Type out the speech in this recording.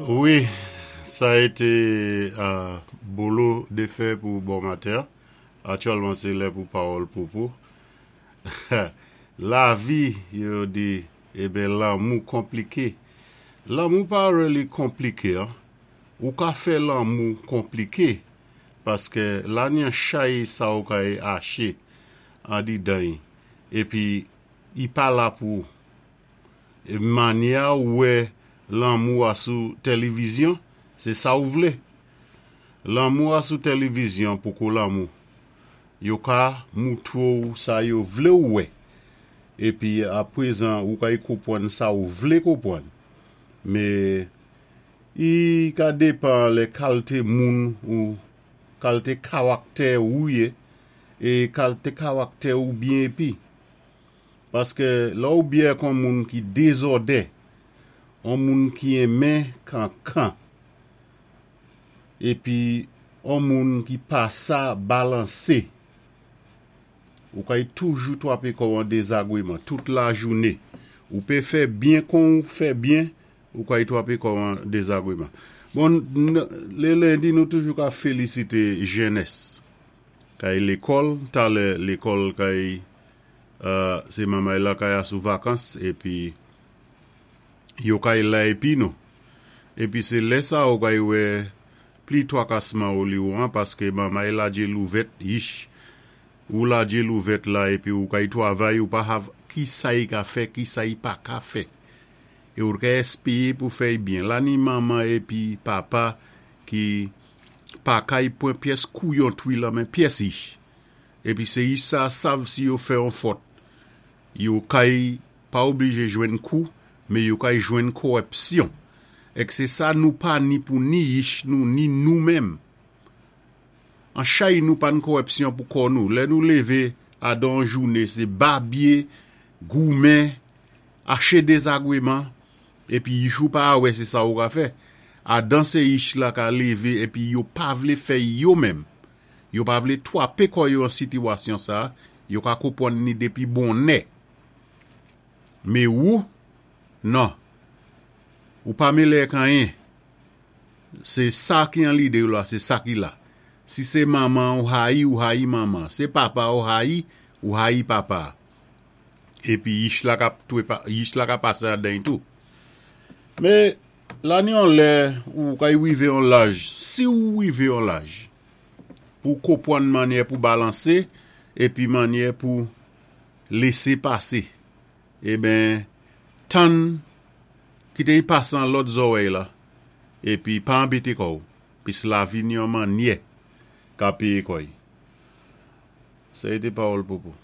Wi, sa été Bolo Défè pou bon maten. Aktyèlman sé lè pou Pawòl Popo. Lavi, yo di, eben lanmou konplike. Lanmou pa really konplike an. Ou ka fè lanmou konplike paske la ni an chay sa ou kay ache andidan y epi i pa la pou ou. Manyè a ou wè lanmou a sou tèlivizyon, se sa ou vle. Lanmou a sou tèlivizyon poko lanmou. Yo ka moutre w sa yo vle w wè. Epi aprezan ou kay konpwann sa ou vle konpwann. Me i ka depan lè kalte moun ou, kalte karaktè ou ye, e kalte karaktè ou byen epi. Paske lè ou byen ak on moun ki dezòdè, on moun ki enmen kankan, epi on moun ki pa sa balanse, ou kay toujou twape kò w an dezagreman tout lajoune. Ou pe fè byen kon ou fè byen, ou kay twape kò w an dezagreman. Bon, le lendi nou toujou ka felisite jenès. Kay lekòl, talè lekòl kay Se manmay la kay a sou vakans epi yo kay la epi nou. Epi se lè sa ou kay wè pli twakasman ou li ou an paske manmay la je l ouvèt yich. Ou la je l ouvèt la epi ou kay twavay ou pa hav kisa y ka fè kisa y pa ka fè. E ou kay espeye pou fè y byen. La ni manman epi papa ki pa kay pwen pyès kouyon twi lan men pyès yich. Epi se isa sav si yo fè on fòt yo kay pa oblije jwenn kou men yo kay jwenn korèpsyon ek se sa nou pa ni pou ni yich nou ni nou menm an chay nou pa n korèpsyon pou kò nou lè nou leve adan on joune se babye goumen ache dezagweman epi yich ou pa wè se sa ou ka fè adan se yich la ka leve epi yo pa vle fè yo menm. Yo pa vlé twapé kò yo an sitiwasyon sa, yo ka konpwann ni dépi bonnè. Mé wou, non. Ou pa mélé ak anyen. Sé sa ki an lidé ou la, sé sa ki la. Si sé manman ou hayi, ou hayi manman. Sé papa ou hayi, ou hayi papa. Épi yich la ka yich la ka pasé andan y tou. Mé, la ni yon lè, ou kay wivé yon laj, si ou wivé yon laj, pou konpwann mannyè pou balanse epi mannyè pou lese pase. Eben, tann, kite y pase an lòt zòrèy la, epi pa anbete kò w, pis lavi ni yon mannyè ka peye kò y. Sa e te pawòl Popo.